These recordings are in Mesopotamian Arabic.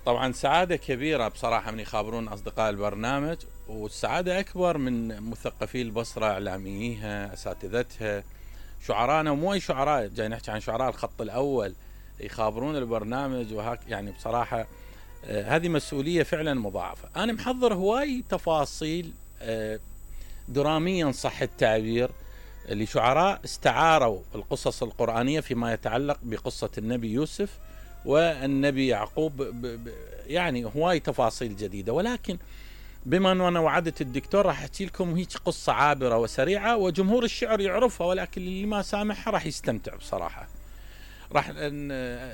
طبعا سعادة كبيرة بصراحة من يخابرون أصدقاء البرنامج، والسعادة أكبر من مثقفي البصرة، إعلامييها، أساتذتها، شعراءنا، ومو أي شعراء، جاي نحكي عن شعراء الخط الأول يخابرون البرنامج وهاك. يعني بصراحة هذه مسؤولية فعلا مضاعفة. أنا محضر هواي تفاصيل دراميا صح التعبير لشعراء استعاروا القصص القرآنية فيما يتعلق بقصة النبي يوسف والنبي يعقوب، يعني هواي تفاصيل جديدة. ولكن بما أنه أنا وعدت الدكتور راح أحكي لكم هيك قصة عابرة وسريعة وجمهور الشعر يعرفها، ولكن اللي ما سامعها راح يستمتع بصراحة. راح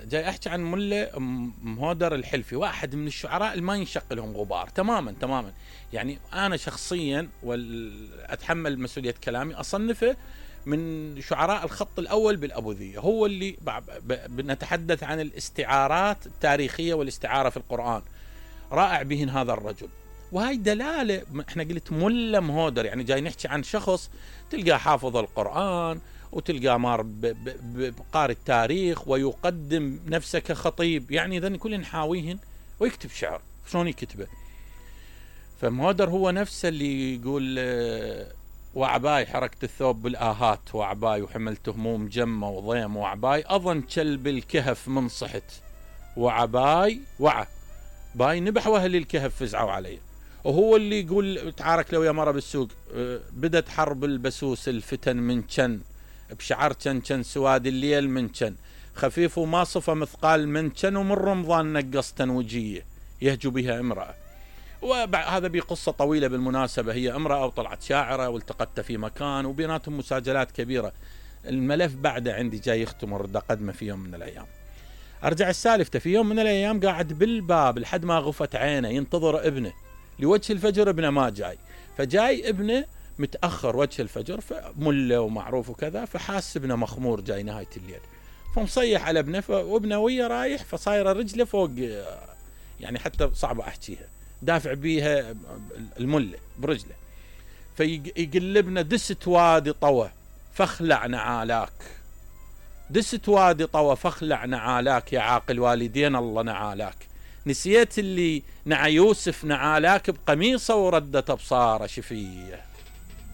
جاي أحكي عن ملا مهودر الحلفي، واحد من الشعراء اللي ما ينشق لهم غبار تماما. يعني أنا شخصيا وأتحمل مسؤولية كلامي أصنفه من شعراء الخط الأول بالأبوذية. هو اللي بنتحدث عن الاستعارات التاريخية والاستعارة في القرآن، رائع بهن هذا الرجل. وهاي دلالة، احنا قلت ملا مهودر، يعني جاي نحكي عن شخص تلقى حافظ القرآن وتلقى مار بقارئ التاريخ ويقدم نفسه كخطيب، يعني ذن كلهن حاويهن ويكتب شعر. شلون يكتبه؟ فمهودر هو نفسه اللي يقول وعباي حركت الثوب بالآهات، وعباي وحملت هموم جمة وضيم، وعباي أظن كلب الكهف من صحت، وعباي باي نبح واهل الكهف فزعوا علي. وهو اللي يقول تعارك لو يا مرة بالسوق، بدت حرب البسوس الفتن من كن، بشعر كن سواد الليل من كن، خفيف وما صفى مثقال من كن، ومن رمضان نقص تنوجية يهجو بها امرأة. وهذا بقصة طويلة بالمناسبة، هي امرأة وطلعت شاعرة والتقت في مكان وبيناتهم مساجلات كبيرة. الملف بعده عندي جاي يختمر، دا قدمه في يوم من الأيام. أرجع السالفة، في يوم من الأيام قاعد بالباب لحد ما غفت عينه ينتظر ابنه لوجه الفجر، ابنه ما جاي، فجاي ابنه متأخر وجه الفجر، فمله ومعروف وكذا، فحاس ابنه مخمور جاي نهاية الليل، فمصيح على ابنه، وابنه ويا رايح، فصايرة رجله فوق، يعني حتى صعبة أحكيها، دافع بيها المله برجله، فيقلبنا دست وادي طوى فاخلع نعالاك، دست وادي طوى فاخلع نعالاك، يا عاقل والدين الله نعالاك، نسيت اللي نعى يوسف نعالاك بقميصه وردت ابصاره شفيه.